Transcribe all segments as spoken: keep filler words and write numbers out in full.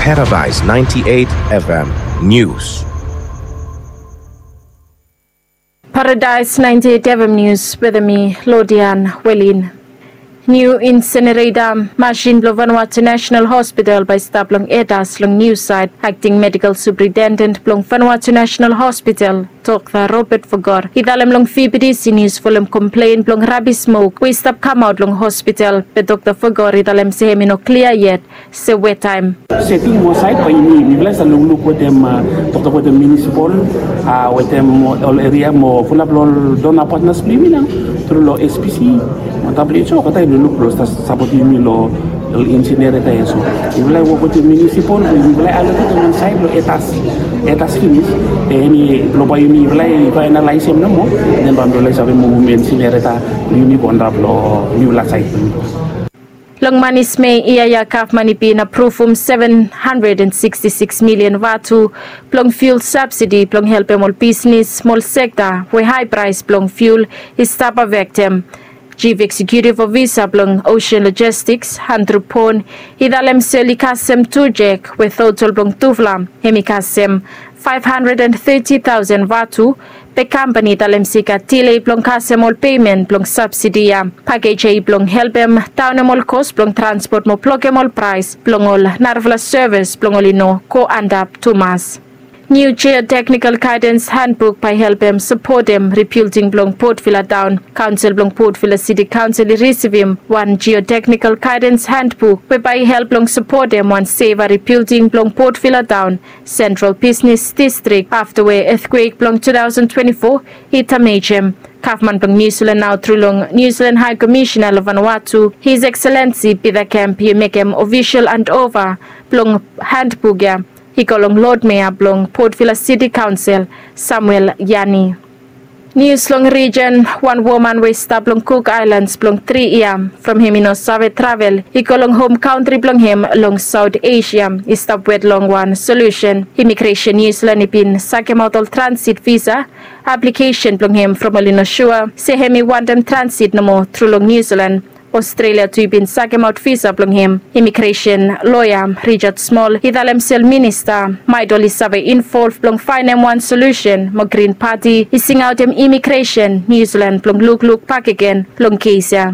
Paradise ninety-eight F M News. Paradise ninety-eight F M News wetem mi, Lodian Welin. Niu insenereta masin blong Vanuatu National Hospital bae i stap long Etas long niu saed. Akting Medical Superintendent blong Vanuatu National Hospital, Dokta Robert Fogor, i talem long V B T C News folem komplen blong rabis smok we i stap kamaot long hospital. Be Dokta Fogor i talem se hem i no klia yet se we taem. Seting mo saed bae yumi, mifala i save lukluk wetem, a, toktok wetem munisipal, a, wetem ol eria mo fulap long ol dona patnas blong yumi nao, tru long S P C mo W H O, olgeta i lukluk blong sapotem yumi long ol insenereta ya. So mifala i wok wetem munisipal, mifala i aloketem wan saed long Etas, Etas finis. Be hemi blong bae yumi, mifala i faenalaesem nomo, den bae mifala i save muvum insenereta blong yumi go antap long niufala saed blong yumi. Long manis Mei yia ya, gavman i bin apruvum seven hundred and sixty-six million vatu blong fuel subsidy blong helpem ol bisnis mo ol sekta we hae praes blong fuel i stap afektem. Chief Executive Officer blong Ocean Logistics, Andrew Pon, i talem se oli kasem tu jek we total blong tufala hem i kasem five hundred and thirty thousand vatu. Be kampani i talem se i gat delay blong kasem ol pemen blong subsidy ya. Pakej ya i blong helpem daonem ol kos blong transpot mo blokem ol praes blong ol narafala sevis blong oli no go antap tumas. Niu Geotechnical Guidance Handbook bae i helpem sapotem ribilding blong Port Vila Taon. Kaonsel blong Port Vila City Council i risivim wan Geotechnical Guidance Handbook we bae i help blong sapotem wan seva ribilding blong Port Vila Taon, Central Business District, afta we etkwek blong two thousand twenty-four i damejem. Gavman blong Niu Silan nao tru long Niu Silan Hae Komisena long Vanuatu, His Excellency Peter Kemp, i mekem ofisol handova blong handbuk ya i go long Lod Mea blong Port Vila City Kaonsel, Samuel Yani. Nius long rijen. Wan woman we i stap long Cook Islands blong tri yia from hem i no save travel i go long hom kantri blong hem long Saot Asia i stap wet long wan solusen. Imigresen Niu Silan i bin sakemaot ol transit visa aplikesen blong hem from oli no sua se hem i wantem transit nomo tru long Niu Silan. Ostrelia tu i bin sakemaot visa blong hem. Imigresen loea Richard Small i talem se ol minista maet oli save involv blong faenem wan solusen mo Grin Pati i singaotem Imigresen Niu Silan blong lukluk bakegen long kes ya.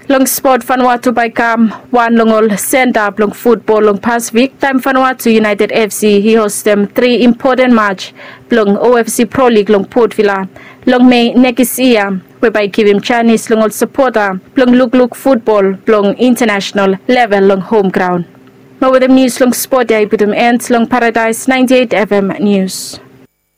Long spot, Vanuatu bae i kam wan long ol senta blong futbol long Pasifik taem Vanuatu United F C i hostem tri impoten maj blong O F C Pro League long Port Vila long Mei nekis yia, we bae i givim janis long ol sapota blong lukluk futbol blong intanasenal level long hom graon. Mo wetem nius long spot ya i putum en long Paradise ninety-eight F M Nius.